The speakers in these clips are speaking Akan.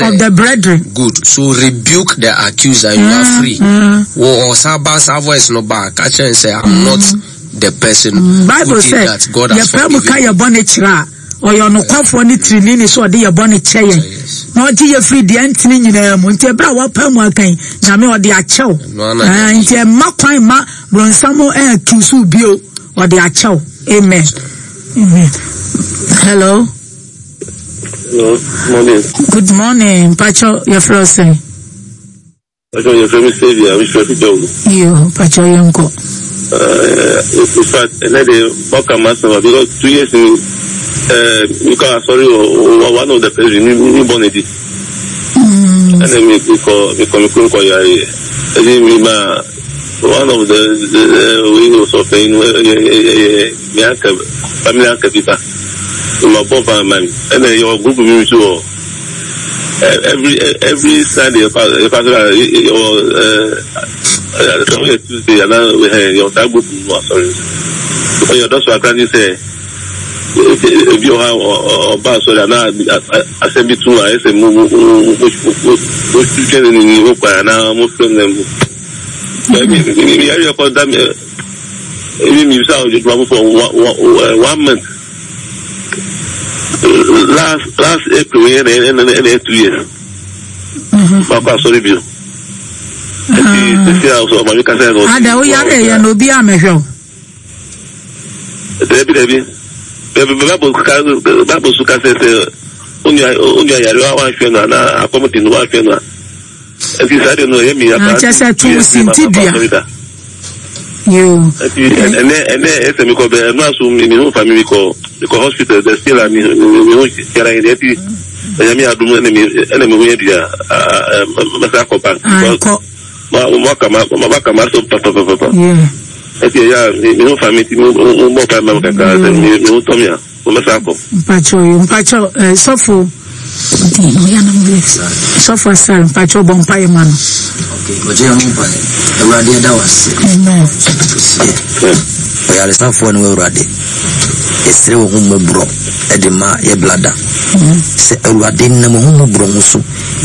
of the brethren. Good. So rebuke the accuser. You mm, are free. Mm. Wo ɔsan ba saa voice no ba ka kyerɛ n sɛ I'm mm. not the person mm. Bible who did sɛ, that. God has yɛpɛ mu forgiven ka me. yɛ bɔne kyerɛ a ɔyɛ ɔnokwafoɔ ne tirinini sɛ ɔde yɛ bɔne kyɛ yɛn na ɔgye yɛ firi deɛ ntene nyinaa mu. Nti ɛberɛ a wɔpɛ mu aka yi, Nyame ɔde akyɛw. Ɛno ara na Ah, nti ɛmma kwan ma bronsam accuse wo bio. Ɔde akyɛw. Amen. Amen. Hello. Hello, morning. Good morning. Mpacho, yɛfrɛ wo sɛn? Mpacho, yɛfrɛ me Saviour, mefrɛ fi Dɔm. Yo, mpacho yɛnkɔ. In fact, ɛnɛ de ɔka m'asɛm a because 2 years ni mekɔ asɔre wɔ one of the president mi mi bɔ ne di. Ɛnna mi mekɔ mekɔ me kurom kɔ yare ɛdi mi ma one of the wei ɔsɔfɛn no ɛyɛ ɛyɛ mi anka family anka bi ba. Ma bɔ ban ma mi ɛnna yɛ wɔ group mi nso wɔ every Sunday yɛ kɔ asɔre a yɛ wɔ ɛɛ sɛ ɔyɛ Tuesday ana ɛɛ yɛ wɔ saa group mu asɔre ɔyɛ ɔdɔ so akra ne sɛ ebi wɔ ha ɔba asɔre ana asɛm bi tum a ɛsɛ mo mo mo mo mo twɛn ne ne ho kwan ana mo fɛn ne mo ɛmi mi yɛ kɔ da mi ebi mi bisa ɔdwuma for one month. Last last April yɛ na ɛna ɛna ɛyɛ 2 years. Makɔ asɔre bio. Nti sisi a ɔsɔ ɔmaame kasa yɛ na ɔsi. Ada wo yare yɛ na obi amɛhwɛ o. Dabi dabi. Dabi Bible ka Bible so kasa sɛ onua onua yare wa wanhwɛ no ana akɔm di no wanhwɛ no a. Nti saa de no ɛyɛ mi apa. Kyɛ sɛ to sinti dua. Yoo. Nti ɛnɛ ɛnɛ ɛsɛ mi kɔ bɛ ɛnu aso mi mi ho fa mi mi kɔ mi kɔ hospital the still a mi mi ho yɛrɛ yɛrɛ ɛti ɛnyɛ mi adum ɛna mi ɛna mi ho yɛ di a mɛsɛ akɔ bank. Akɔ. Ma ma ka ma ma ka ma so papapapa. Ɛti ɛyɛ a mi ho fa mi ti mi mo bɔ pa ma mi kakra sɛ mi mi ho tɔ mi a. Mpakyɛw yo mpakyɛw eh, sɔfo sɔfo asare mpakyɛw bɔ mpaeɛ ma no. Okay, ɔgye yɛn ho mpaeɛ. Awurade ɛda wo ase. Amen. Ɔyaresafoɔ ne wo Awurade. Yɛsrɛ wo ho mmɔborɔ de ma yɛ blada. Sɛ Awurade nam wo ho mmɔborɔ ho so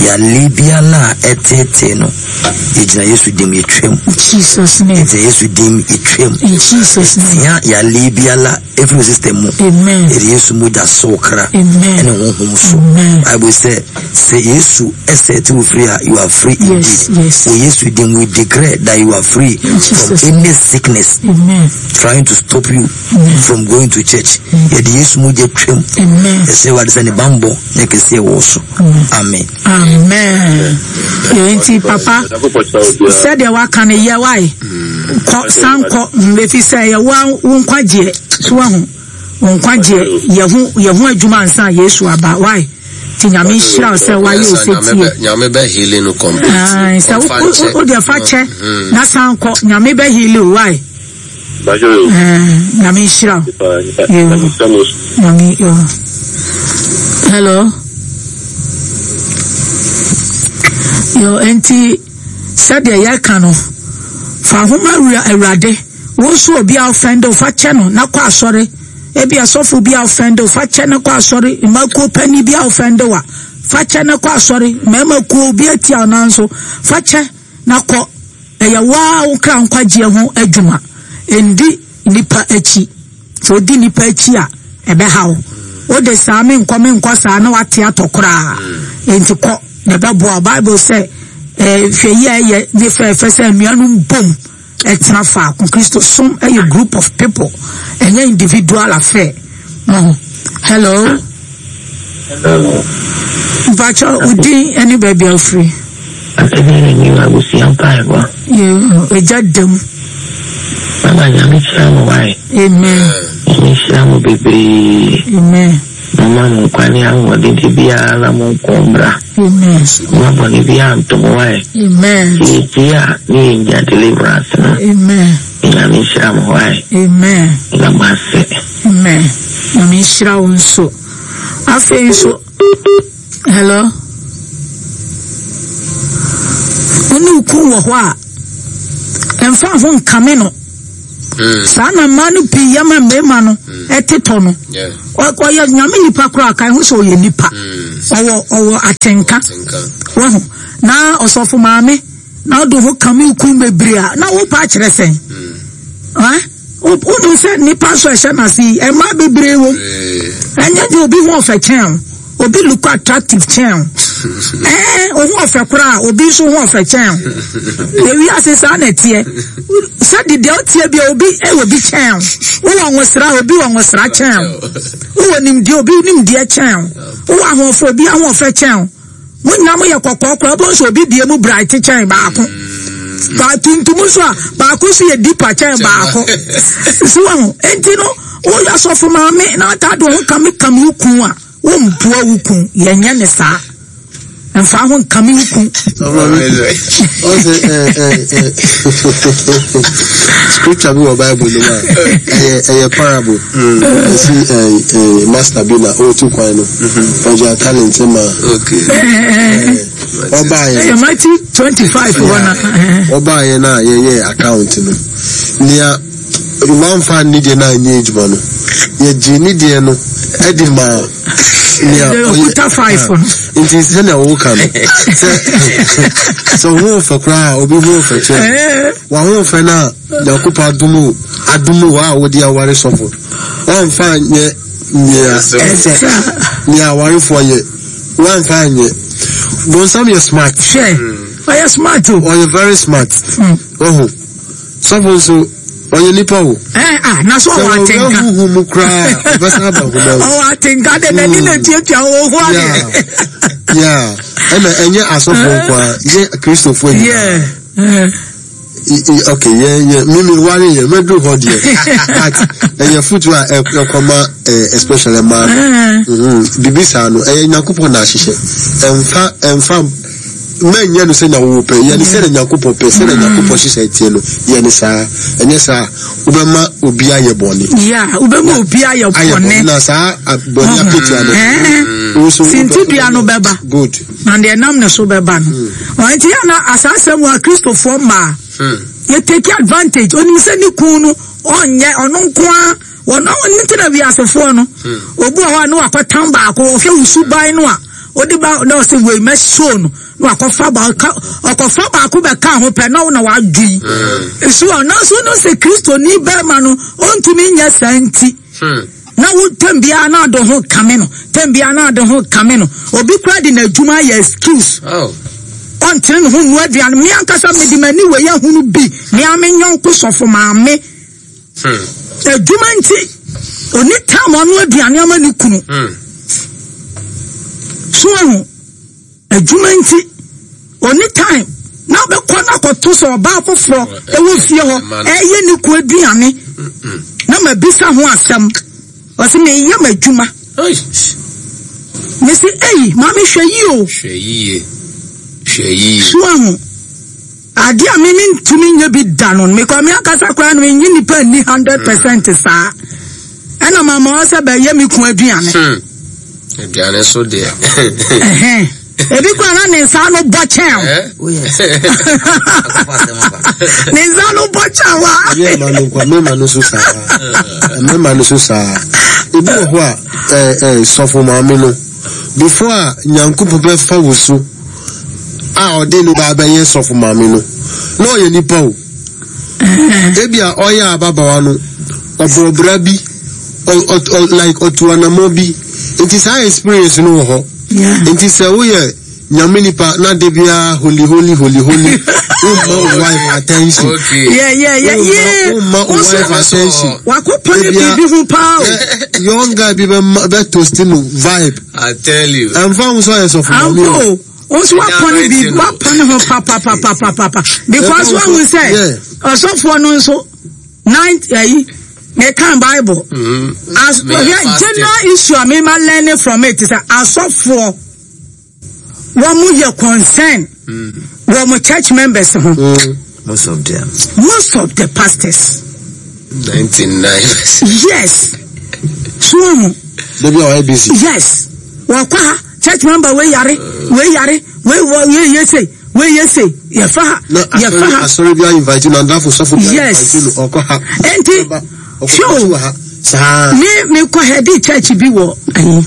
yale biara a ɛtetee no yɛgyina Yesu dim yɛtwam. Jesus name. Yɛgyina Yesu dim yɛtwam. In Jesus name. Yɛtia yale biara ɛfiri wo system mu. Amen. Yɛde Yesu mogya sɔ wo kra Amen. ɛne honhom so. Amen. Bible sɛ sɛ Yesu ɛsɛte wo free a you are free Yes, indeed. yes. Wɔ Yesu din we declare that you are free from Jesus. any sickness Amen. trying to stop you from going to church. Yɛde Yesu mogya twam. Amen. Yɛsrɛ Awurade sɛ ne bammɔ ne kɛseɛ wɔ wo so. Amen. Amen. Yɛ nti papa sɛdeɛ waka no yɛ wae kɔ san kɔ efi sɛ yɛ wa wo nkwagyeɛ so wahu wo nkwagyeɛ yɛ ho yɛ ho adwuma ansa Yesu aba wae ti Nyame nhyira wo sɛ wayɛ osetie. Nyame bɛ healing no complete. Sɛ wo deɛ fa kyɛ na san kɔ Nyame bɛ healing wo wae. Nyame nhyira wo. Nyame yo. Hello. Yo, enti sɛdeɛ yɛka no fa homa wura Awurade wo nso obi a ɔfɛnde fa kyɛ no na kɔ asɔre ebi asɔfo bi a ɔfɛnde fa kyɛ no kɔ asɔre mmakuo panyin bi a ɔfɛnde wa fa kyɛ no kɔ asɔre mmarima kuo bi atia ɔnan so fa kyɛ na kɔ. Ɛyɛ wo ara wo kra nkwagyeɛ ho adwuma. Ndi nnipa akyi. Sɛ wodi nnipa akyi a, ɛbɛha wo. Wode saa menkɔ menkɔ saa na wate atɔ koraa. Enti kɔ na ɛbɛboa wo. Bible sɛ, eh, hwɛ yi a ɛyɛ ne fɛɛfɛ sɛ anuanom bom ɛtena faako. Kristo som ɛyɛ group of people, ɛnyɛ individual affair. Mo hello. Hello. Mpakyɛ wo din ɛne baabi a wofiri. Asɛm yi ne abusua mpaebɔ. Ɛgya dam. Mama Nyame hyira mo wae. Amen. Nyame hyira mo bebree. Amen. Mama mo nkwa ne ahoɔden de biara na mo nko mbra. Amen. Mama bɔne biara nto mo wae. Amen. Yɛtie a ne yɛnya deliverance no. Amen. Nyame hyira mo wae. Amen. Na mo ase. Amen. Nyame nhyira wo nso. Afei nso, hello. Wo ne wo kun wɔ hɔ a, ɛmfa ho nkame no. Saa na mmaa no pii yɛ ma mmarima no. ɛtetɔ no. Ɔyɛ nyame nipa koraa kan ho sɛ ɔyɛ nipa. Ɔwɔ ɔwɔ atenka. Wahu. Na ɔsɔfo maame na ɔde ho kame kun bebree a na wopa akyerɛ sɛn. Wonim sɛ nipa nso ɛhyɛ n'ase yi mmaa bebree wom. Ɛnyɛ de obi ho ɔfɛ kyɛn o. Obi look attractive kyɛn o. Ɛɛ oho ɔfɛ koraa obi nso ho ɔfɛ kyɛn o. Ewi ase saa na ɛteɛ. Sɛ de deɛ ɔteɛ bi obi ɛwɔ bi kyɛn o. Wowɔ nwosra obi wɔ nwosra kyɛn o. Wowɔ nimdeɛ obi nimdeɛ kyɛn o. Wowɔ ahoɔfɛ obi ahoɔfɛ kyɛn o. Mo nyinaa mo yɛ kɔkɔɔ koraa wobɛhu sɛ obi deɛ mu bright kyɛn baako. Ba tuntum nso a baako nso yɛ deeper kyɛn baako. So wahu enti no woyɛ asɔfo maame na ata de ho kame kame wo kun a wompoa wo kun yɛnyɛ ne saa. Mfa ho nkame wo kun. Ɔsɛ scripture bi wɔ Bible no mu a ɛyɛ ɛyɛ parable. Ɛsi ɛɛ master bi na ɔretu kwan no ɔgya talent ma. Ɔbaayɛ. Ɛyɛ Matthew 25 hɔ na. Ɔbaayɛ na yɛyɛ account no nea wamfa ne deɛ no anyɛ adwuma no yɛgye ne deɛ no ɛde ma nea ɔyɛ five no. Nti sɛnea wɔka no sɛ sɛ ho ɔfɛ koraa obi ho ɔfɛ kyɛ waho ɔfɛ no a Nyankopɔn adom o, adom o a wode aware sɔfo. Woamfa anyɛ nea ɛsɛ, nea awarefoɔ yɛ. Woamfa anyɛ. Bonsam yɛ smart. Hwɛ, ɔyɛ smart o. Ɔyɛ very smart. Ɔho. Sɔfo nso, ɔyɛ nipa o. Ɛɛ ah, na so ɔwɔ atenka. Sɛ ɔwɔ huhu mu koraa, ɔbɛsan aba honam. Ɔwɔ atenka de n'ani na tuatua ɔwɔ ho ade. Yeah, yeah. Ɛna ɛnyɛ asɔfo nko ara, yɛ Kristofoɔ nyinaa. Yeah. Okay, yɛ yɛ mimi ware yɛ mɛduru hɔ deɛ but ɛyɛ futu a ɛkɔma especially mmaa no bibi saa no ɛyɛ Nyankopɔn na ahyehyɛ ɛnfa ɛnfa mɛnyɛ no sɛ na wo pɛ yɛ ne sɛ na Nyankopɔn pɛ sɛ na Nyankopɔn hyehyɛ ɛteɛ no yɛ ne saa ɛnyɛ saa wobɛma obi ayɛ bɔne. Yeah, wobɛma obi ayɛ bɔne na saa bɔne akatua no sintidua no bɛba. Good. Na deɛ ɛnam ne so bɛba no. Ɔno nti yɛ na asaasɛm wɔ Akristofoɔ mmaa yɛ take advantage. Onim sɛ ne kun no ɔnyɛ ɔno nko ara wɔn ɔno nti na wiasefoɔ no obi wɔ hɔ a ne wakɔtam baako ɔhwɛ wo suban no a ɔde ba na ɔsɛ wei mɛsoo no na wakɔfa baako ɔkɔfa baako bɛka ho pɛ na ɔna wadwo yi so ɔno nso no sɛ Kristoni bɛrima no ɔntumi nyɛ saa nti. Na wo tɛm biara na ade ho kame no, tɛm biara na ade ho kame no. Obi koraa de n'adwuma ayɛ excuse. Oh. Ɔntene ne ho nnua aduane. Me ankasa mede m'ani wei ahunu bi. Me ara me nyɔnko sɔfo maame. Adwuma nti, ɔni tam ɔno aduane ama ne kunu. So ahu. Adwuma nti ɔnni time na ɔbɛkɔ no akɔto sɛ ɔbaa foforɔ ɛwɔ fie hɔ ɛyɛ ne ku aduane na mabisa ho asɛm ɔsɛ meyɛ m'adwuma mese ei maame hwɛ yie o hwɛ yie hwɛ yie so ahu Adeɛ a me mentumi nyɛ bi da no, mekɔ me ankasa koraa no menye nipa nni 100% saa. Ɛna mama hɔ sɛ bɛyɛ me kun aduane. Aduane so deɛ. Ebi koraa na ne nsa ano bɔ kyɛn o. Ne nsa ano bɔ kyɛn wa. Ɛnyɛ ɛma no nkwa, mmarima no so saa. Mmarima no so saa. Ebi wɔ hɔ a, ɛɛ sɔfo maame no, before a Nyankopɔn bɛfa wo so. a ɔde no ba abɛyɛ sɔfo maame no, na ɔyɛ nipa o. Ebia ɔyɛ ababaawa no, ɔbɔ bra bi, like ɔtu anamɔ bi. Nti saa experience no wɔ hɔ. Nti sɛ woyɛ nyame nipa na de biara holy holy holy holy, womma wo wife attention. Okay. Yeah, yeah, yeah, yeah. Womma wo wife attention. Wakɔpɔ ne biribi ho paa o. Young guy bi bɛ bɛ toast no vibe. I tell you. Ɛnfa ho sɛ ɔyɛ sɔfo maame o. Ampa o. Wo nso wapɔ ne bi wapɔ ne ho papapapapapa because wahu sɛ ɔsɔfoɔ no nso nine ayi mekan bible. Mm-hmm. As general issue a mema learning from it sɛ asɔfoɔ wɔn mo yɛ concern wɔn mo church members ho. Mm. Most of them. Most of the pastors. 99. Yes. So wɔn. Debi a ɔyɛ busy. Yes. Wɔkɔ ha church member wei yare wei yare wei wɔ wei yɛ se wei yɛ se yɛfa ha yɛfa ha. Asɔre bi a invite no andafo sɔfo bi a invite no ɔkɔ ha. Enti. Ɔkɔ ha. Saa. Me mekɔ hɛdi church bi wɔ ayi.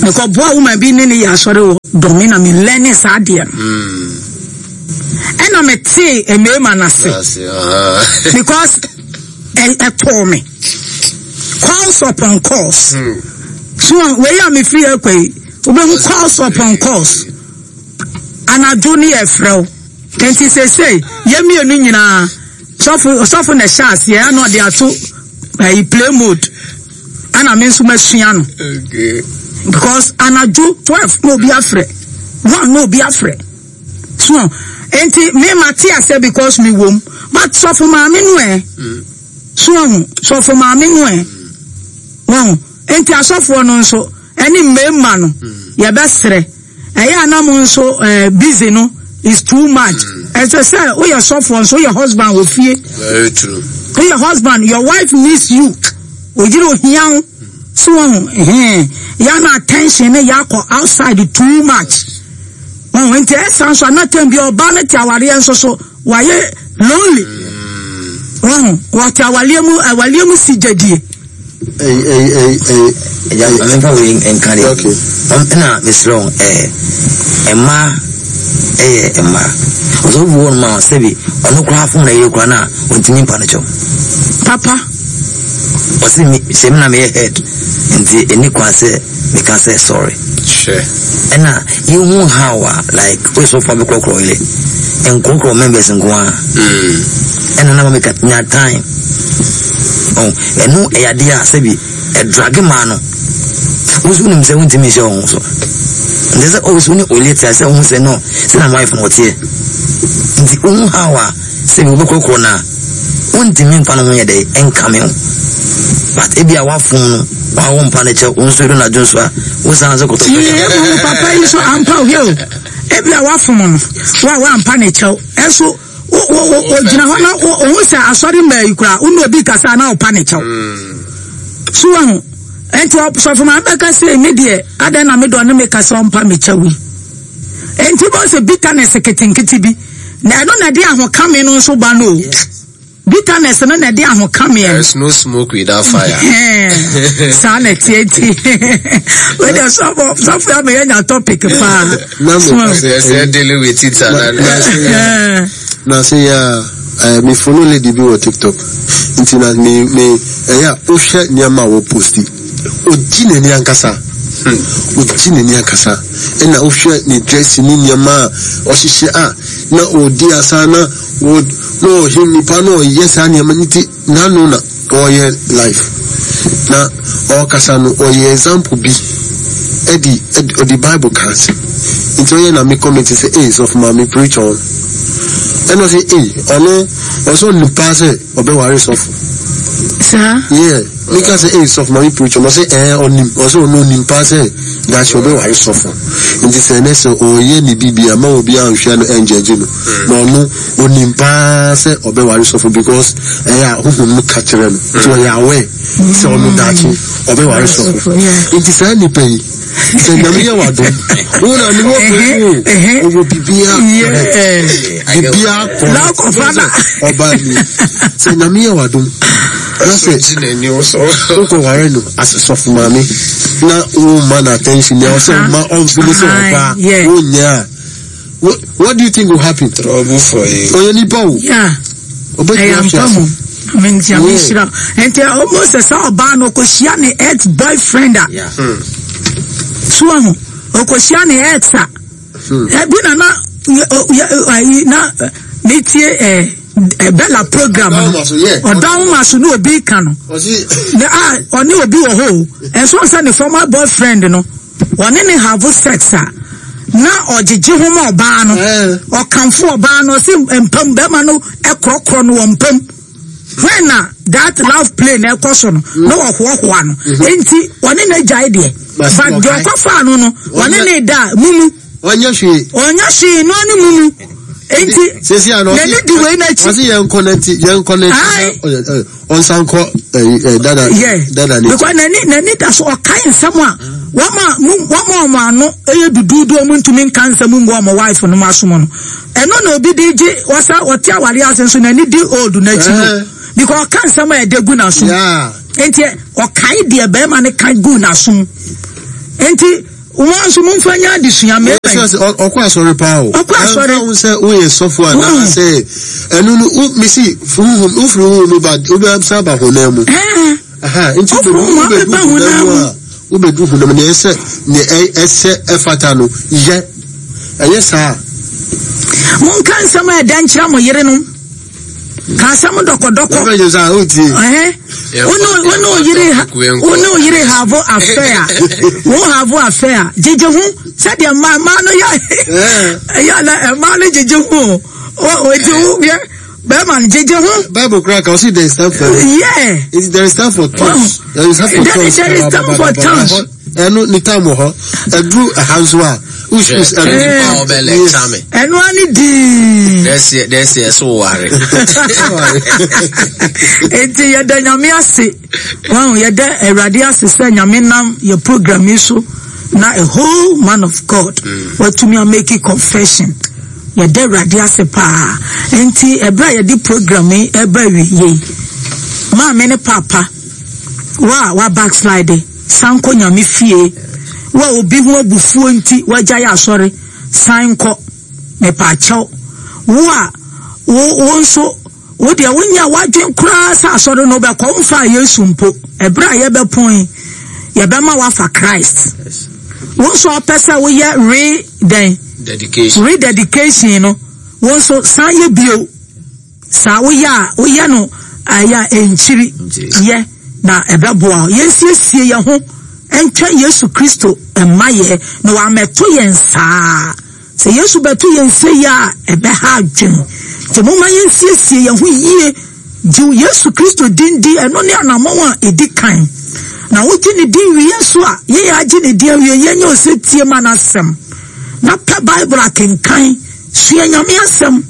Mekɔ boa woman bi ne ne yɛ asɔre wɔ dɔme na me learning saa adeɛ no. Ɛna me tee mmarima no ase. Because ɛtɔɔ me. Calls upon calls. So wei a mefiri akɔ yi, wobɛhu calls upon calls. Anadwo ne yɛfrɛ wo. Nti seesei yɛn mmienu nyinaa sɔfo sɔfo na ɛhyɛ aseɛ ɛna ɔde ato ɛyi play mode ɛna me nso masua no because anadwo 12 na obi afrɛ 1 na obi afrɛ so nti me ma te aseɛ because me wom but sɔfo maame no ɛ so ɔho sɔfo maame no ɛ wɔn nti asɔfoɔ no nso ɛne mmarima no yɛbɛsrɛ. Ɛyɛ a na mo nso eh, busy no is too much. Ɛsɛ sɛ woyɛ sɔfoɔ nso woyɛ husband wɔ fie. Very true. Woyɛ husband, your wife needs you. Oyere ohia wo. So wɔn ho yɛ na attention ne yɛ akɔ outside too much. Wɔn nti ɛsa nso anatɛn bi ɔbaa no te awareɛ nso so wayɛ lonely. Wɔn wɔte awareɛ mu awareɛ mu si gyadie. Agya ma memfa wei nka deɛ ɛna mesrɛ wo mmaa ɛyɛ mmaa ɔsɔfo bi wɔ nom a sɛbi ɔno koraa fom na yere koraa no a ɔntumi mpa no kyɛw papa ɔse sɛ me na meyɛ head nti ɛni kwan sɛ meka sɛ sorry ɛna yɛhu how a like woyɛ sɔfo a bɛkorɔkorɔ yere nkorɔkorɔ members nko a ɛna na ma meka nya time Oh, ɛno ɛyɛ adeɛ a sɛbi ɛdrage maa no. Wo nso wonim sɛ wontumi nhyɛ wo ho so. Nti sɛ always wo ne olie te a sɛ wohu sɛ no sɛ na wife no ɔteɛ. Nti wohu how a sɛbi wobɛkorɔkorɔ no a wontumi mfa no ho yɛ dɛ ɛnkame ho. But ebi a wafom no wawo mpa no kyɛw wo nso edu n'adwo nso a wosan nso kɔtɔ pɛ. Ɛmu papa yi so ampa o hwɛ o. Ebi a wafom no wa wampa ne kyɛw ɛnso ogyina hɔ na ohun sɛ asɔre mmaa yi koraa wo ne obi kasa na ɔpa ne kyɛw so wahu nti sɔfo maa bɛka sɛ me deɛ adɛn na me dɔ ne me kasa ɔmpa me kyɛw yi nti bɔ sɛ bitterness ketenkete bi na ɛno na ɛde ahokame no nso ba no o. Bitterness no na ɛde ahokameɛ. There is no smoke without fire. Saa na ɛteɛ nti. Wei deɛ sɔfo sɔfo ama yɛnya topic paa. Sɛ sɛ dealing with it ana. Na se ya eh, me follow lady bi wɔ TikTok. Nti na me me ɛyɛ a wohwɛ nneɛma a wɔposti. Ogye n'ani ankasa. Ogye n'ani ankasa. Ɛna wohwɛ ne dressing ne nneɛma a ɔhyehyɛ a na ɔdi asa na Wɔ na ɔhwɛ nipa na ɔyɛ saa nneɛma no ti n'ano na ɔyɛ life na ɔkasa no ɔyɛ example bi ɛde ɔde bible ka ase nti ɔyɛ na me comment sɛ ee sɔfo maame preach on ɛna ɔsɛ ee ɔno ɔsɛ ɔnim paa sɛ ɔbɛware sɔfo saa yeah meka sɛ ee sɔfo maame preach on ɔsɛ ɛɛ ɔnim ɔsɛ ɔno ɔnim paa sɛ daakye ɔbɛware sɔfo nti sɛ ɛnɛ sɛ ɔyɛ ne biribi ama obi anhwɛ no ɛngyɛgye no Na ɔno onim paa sɛ ɔbɛware sɔfo because ɛyɛ a honhom no ka kyerɛ no nti ɔyɛ aware sɛ ɔno daakye ɔbɛware sɔfo. Nti saa nipa yi sɛ Nyame yɛ wadom wo na ne wɔ pɛ o ɔwɔ bibia correct bibia correct ɔbaa ni sɛ Nyame yɛ wadom na sɛ wokɔ ware no as sɔfo maame na wo ma no attention nea ɔsɛ ɔma ɔmfili sɛ ɔbaa wonyɛ a What, what do you think will happen? Trouble for you. Ɔyɛ nipa o. Yeah. Ɔbɛtumi ahwe ase. Nti a mehyira. Nti ɔmo sɛ sɛ ɔbaa no ɔkɔhyia ne ex boyfriend a. So ɔho ɔkɔhyia ne ex a. Ebi na na ayi na metie ɛ Bella program no. Ɔdɔ ahoma so ne obi ka no. Na a ɔne obi wɔ hɔ o. Ɛnso sɛ ne former boyfriend no. Ɔne no have sex a, na ɔgyegye ho ma ɔbaa no. Ɔkamfo ɔbaa no, ɔse mpam, bɛrima no korɔkorɔ no wɔ mpam. When na that love play na ɛkɔ so no, na ɔhoahoa no. Enti, ɔne no agyae deɛ. But deɛ ɔkɔfaa no no, ɔne ne da a, mumu. Ɔnyɛ hwee. Ɔnyɛ hwee, no ne mumu. Enti, n'ani di wei n'akyi. Ɔse yɛn kɔ n'akyi, yɛn kɔ n'akyi. Ɔnsan kɔ ɛyi ɛ dada dada ne. Because n'ani n'ani da so ɔkae nsɛm a wɔn a mu wɔn a wɔn ano yɛ duduudu wɔn ntumi nka nsɛm ngu wɔn wife no asom no ɛno na obi de gye wɔsa ɔte aware ase nso n'ani di old n'akyi no because ɔka nsɛm a ɛde gu n'asom. Enti ɔkae deɛ bɛrima no ka guu n'asom. Enti wɔn nso momfa nyɛ adesua mmarima yi. Ɔkɔ asɔre paa o. Ɔkɔ asɔre. Ɛnfa ho sɛ woyɛ sɔfo anaa sɛ ɛno no wo mesi huhum wofiri huhum mu ba wobɛsan aba honam mu. Nti wobɛdu honam mu a wobɛdu honam nea ɛsɛ nea ɛsɛ ɛfata no yɛ ɛyɛ saa. Monka nsɛm a ɛdɛ nkyerɛ mo yerenom. Ka asɛm dɔkɔdɔkɔ. Wone wo yere have affair. Wo have affair. Gyegye ho sɛdeɛ mmaa mmaa no yɛ ɛyɛ na mmaa no gyegye ho o. Eti wo yɛ bɛrima no gyegye ho. Bible kura ka ɔsi there is time for. Yeah. There is time for tongues. There is time for tongues. There is time for tongues. Ɛno ne time wɔ hɔ. Ɛduru ɛha nso a. Us ɛno. Ɛno ani dii. Dɛsɛ dɛsɛ ɛso ware. Eti yɛda nyame ase. Wɔn yɛda awurade ase sɛ nyame nam yɛ program yi so na a whole man of God mm. watumi amake confession. Yɛda awurade ase paa. Nti ɛberɛ a yɛde program yi ɛba awie yi maame ne papa wa wa backslide. San kɔ Nyame fie. Wo a obi ho abufuo nti wagyae asɔre, san kɔ. Mepaakyɛw. Wo a wo wo nso wo deɛ wonyɛ w'adwen koraa sɛ asɔre no wobɛkɔ, womfaa Yesu mpo. Ɛberɛ a yɛbɛpɔn yi, yɛbɛma woafa Christ. Wo nso a wopɛ sɛ woyɛ re dɛn? Dedication. Rededication no, wo nso san yɛ bio. Saa woyɛ a, woyɛ no ayɛ a ɛnkyiri yɛ na ɛbɛboa wo. Yɛnsiesie yɛn ho ntwɛn Yesu Kristo mmayɛ na wammɛto yɛn saa. Sɛ Yesu bɛto yɛn sei a, ɛbɛha adwene. Nti momma yɛnsiesie yɛn ho yie. Gye Yesu Kristo din di, ɛno ne anammɔn a ɛdi kan. Na wogye ne din wie nso a, yɛn a agye ne din awie, yɛnyɛ osetie ma n'asɛm. Na pɛ Bible akenkan, sua Nyame asɛm.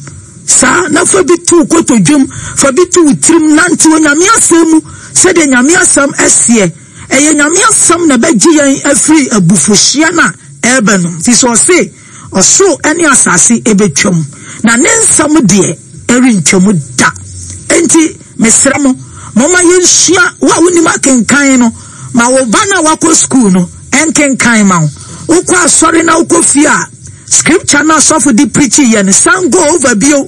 Saa na fa bi to wo kotodwem, fa bi to wo tirim, nante Onyame asɛm mu sɛdeɛ Nyame asɛm seɛ. Ɛyɛ Nyame asɛm na ɛbɛgye yɛn afiri abufuhyeɛ no a ɛreba no mu, firi sɛ ɔse, Ɔsoro ne asase bɛtwam, na ne nsɛm deɛ ɛrentwam da. Enti mesrɛ mo, momma yɛnsua, wo a wonim akenkan no, ma wo ba no a wakɔ sukuu no nkenkan ma wo. Wokɔ asɔre na wokɔ fie a, Scripture no a sɔfo de preachi yɛ no, san go over bio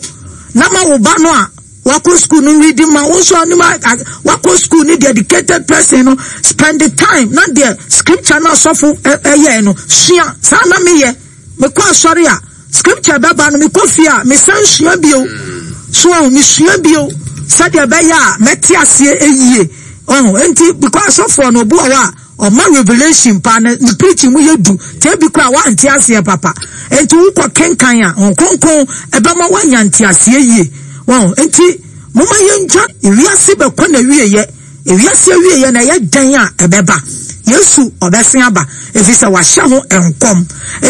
na ma wo ba no a wakɔ school no read ma wo nso anim wakɔ school ne dedicated person no spend the time na deɛ scripture no a sɔfo ɛyɛ no sua. Saa na meyɛ, mekɔ asɔre a scripture bɛba no mekɔ fie a mesan sua bio, so ɔho mesua bio sɛdeɛ ɛbɛyɛ a mɛte aseɛ yie ɔho. Nti because asɔfoɔ no obi wɔ hɔ a Ɔma revelation paa na ne preaching mu yɛ du nti ebi koraa wante aseɛ papa nti wokɔ kenkan a Honhom Kronkron ɛbɛma woanya nteaseɛ yie wɔn nti moma yɛntwa ewiase bɛkɔ na wieyɛ ewiase awieɛ na ɛyɛ dɛn a ɛbɛba Yesu ɔbɛsen aba ɛfiri sɛ wahyɛ ho nkɔm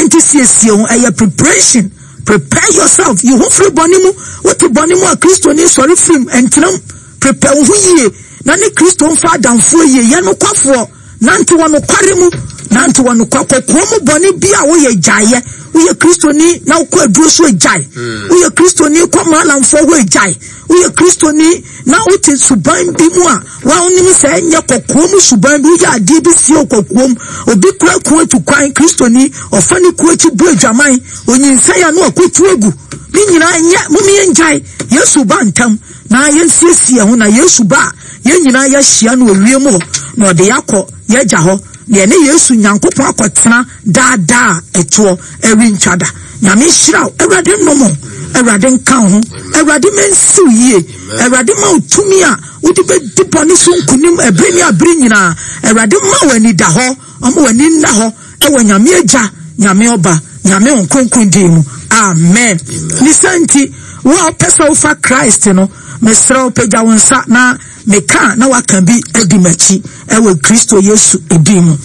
nti siesie ho ɛyɛ preparation prepare yourself yi ho firi bɔne mu wote bɔne mu a Kristoni sɔre firim ntenam Prepare wo ho yie na ne Kristo mfa adamfoɔ yie. Yɛ nokwafoɔ, nante wɔ nokware mu, nante wɔ nokwa kɔkoa mu bɔne bi a woyɛ gyaeɛ. Woyɛ Kristoni na wokɔ aduro so gyae. Woyɛ Kristoni kɔ maalamfoɔ hɔ gyae. Woyɛ Kristoni na wote suban bi mu a wonim sɛ ɛnyɛ kɔkoa mu suban bi. Woyɛ adeɛ bi sie wɔ kɔkoa mu. Obi kura kuo atu kwan, Kristoni ɔfa ne kuo akyi bu adwaman, onyinsɛn a na wakɔtu agu. Ne nyinaa nyɛ, mom yɛngyae. Yesu ba ntɛm. Na yɛnsiesie yɛn ho na Yesu ba a, yɛn nyinaa yɛahyia no wɔ wiem hɔ, na ɔde yɛn akɔ yɛn Agya hɔ, na yɛne Yesu Nyankopɔn akɔtena daa daa a ɛtoɔ ɛrentwa da. Nyame nhyira wo, Awurade nnom wo, Awurade nka wo ho, Awurade ma nsi wo yie, Awurade ma wo tumi a wode bɛdi bɔne so nkonim ɛbere ne abere nyinaa, Awurade ma wo anidahɔ, ɔma w'ani nna hɔ ɛwɔ Nyame Agya, Nyame Ɔba, Nyame Honhom Kronkron din mu. Amen. Ne saa nti, wo a wopɛ sɛ wofa Christ no, mesrɛ wo pagya wo nsa na meka na waka bi adi m'akyi ɛwɔ Kristo Yesu din mu.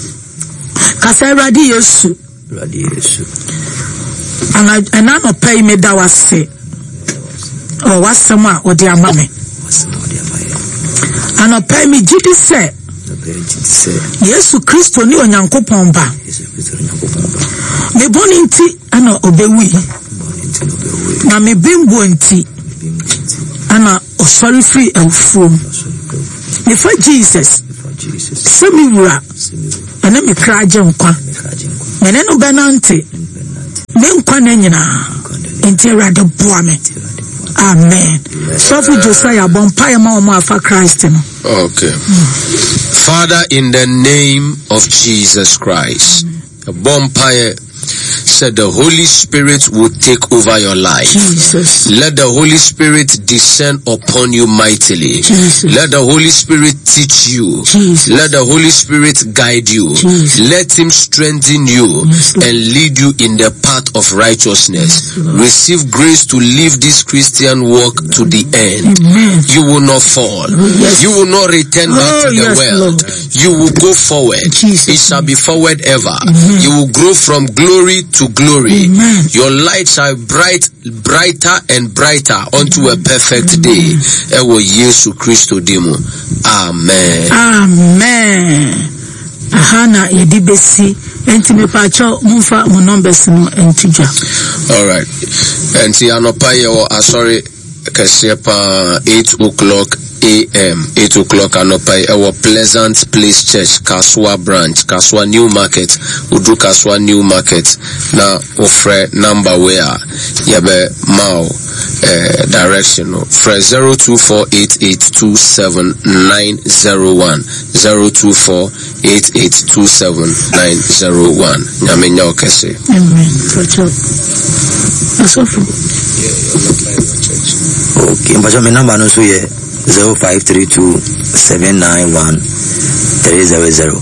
Kasa Awurade Yesu. Awurade Yesu. Ana ɛna anɔpa yi meda wo ase wɔ w'asɛm a wode ama me. Anɔpa yi megye di sɛ Yesu Kristo ne Onyankopɔn Ba. Me bɔne nti na ɔbɛwui, na me bembuo nti na ɔsɔre firi awufoɔ mu. Mefa Jesus. sɛ me wura ɛne me kra gye nkwa. Me ne no bɛnante me nkwa nna nyinaa. Nti Awurade boa me. Amen. Sɔfo Josiah bɔ mpaeɛ ma wɔn afa Christ no. Okay. Father, in the name of Jesus Christ, bɔ mpaeɛ said the Holy Spirit will take over your life. Jesus. Let the Holy Spirit descend upon you mightily. Jesus. Let the Holy Spirit teach you. Jesus. Let the Holy Spirit guide you. Jesus. Let him strengthen you yes, and lead you in the path of righteousness. Yes, Receive grace to live this Christian walk to the end. Amen. You will not fall. Yes. You will not return back oh, to the world. Lord. You will go forward. Jesus. It shall be forward ever. Amen. You will grow from glory to glory. Amen. Your light shall bright brighter and brighter unto a perfect day. Ɛwɔ Yesu Kristo din mu. Amen. Amen. Aha na yɛde bɛsi nti mepaakyɛw momfa mo numbers no nto dwa. Alright. Nti anɔpa yɛwɔ asɔre kɛseɛ paa 8 o'clock am 8 o'clock anɔpa yi ɛwɔ Pleasant Place Church Kasoa branch Kasoa New Market wodu Kasoa New Market na wofrɛ number wei a yɛbɛ ma wo eh, direction no frɛ 0248827901 0248827901 Nyame nyɛ wo kɛse. Amen. Pacho. Asɔfo. Okay, mpacho me number no nso yɛ 0532 791 300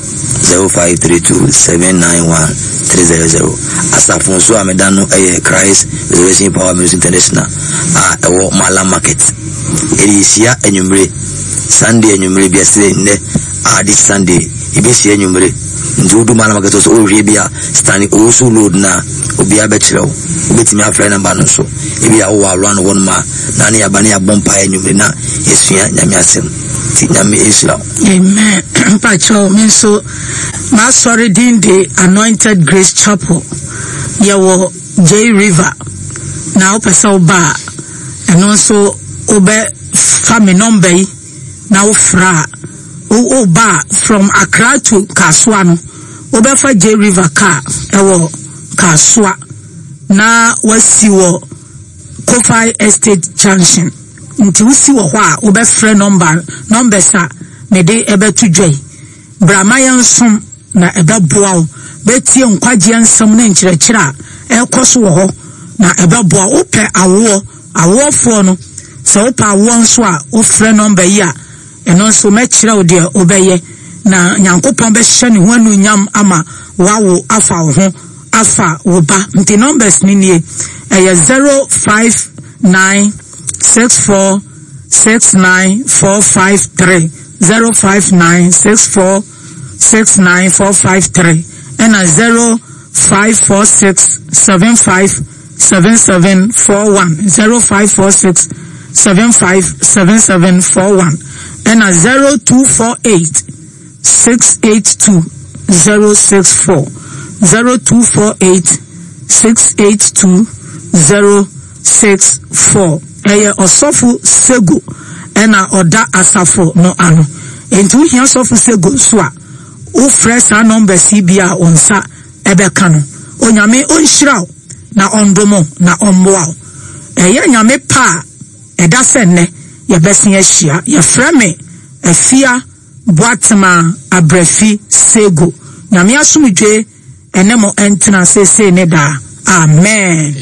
0532 791 300. Asafo nso a meda no yɛ Christ Resurrection Power Ministry International a ɛwɔ Malam Market. Yɛde yɛhyia anwummere Sunday anwummere bi ɛsɛ nnɛ a this Sunday yɛbɛhyia anwummere nti wodu Malam Market so wohwɛ bi a Stanley Owusu Road no a, obiara bɛkyerɛ wo. Wobɛtumi afrɛ nɔmba no nso. Ebia wowɔ around hɔ nom a, na ne yɛaba ne yɛabɔ mpaeɛ anwummere na yɛasua Nyame asɛm. Nti Nyame nhyira wo. Amen mpakyɛw me nso m'asɔre din de Anointed Grace Chapel yɛwɔ Jay River na wopɛ sɛ woba a ɛno nso wobɛ fa me nɔmba yi na wofrɛ a woba a from Accra to Kasoa no Wobɛfa Jay River car wɔ Kasoa na woasi wɔ Kofai Estate Junction. Nti wosi wɔ hɔ a wobɛfrɛ nɔmba numbers a mede ɛbɛto dwa yi. Bra ma yɛnsom na ɛbɛboa wo. Bɛtie nkwagyeɛ nsɛm ne nkyerɛkyerɛ a ɛrekɔ so wɔ hɔ na ɛbɛboa wo. Wopɛ awoɔ, awoɔfoɔ no, sɛ wopɛ awoɔ nso a wofrɛ nɔmba yi a Ɛno nso mɛkyerɛ wo deɛ wobɛyɛ, na Nyankopɔn bɛhyɛ ne ho anuonyam ama woawo afa wo ho afa wo ba. Nti numbers no nie, ɛyɛ 0596469453, 0596469453, ɛna 054675 7741 0546 757741 ɛna 0248 682 064 0248 682 064 ɛyɛ ɔsɔfo Sego ɛna ɔda asafo no ano enti wohia sɔfo Sego nso a wofrɛ saa numbers yi bi a wo nsa ɛbɛka no. Onyame ɔnhyira wo na ɔndom wo na ɔmmoa wo. Ɛyɛ Nyame pɛ a ɛda sɛ nnɛ yɛbɛsen ahyia. Yɛfrɛ me Afia Boatema Abrafi Sego. Nyame asomdwoe ɛne mo ntena seesei ne daa. Amen.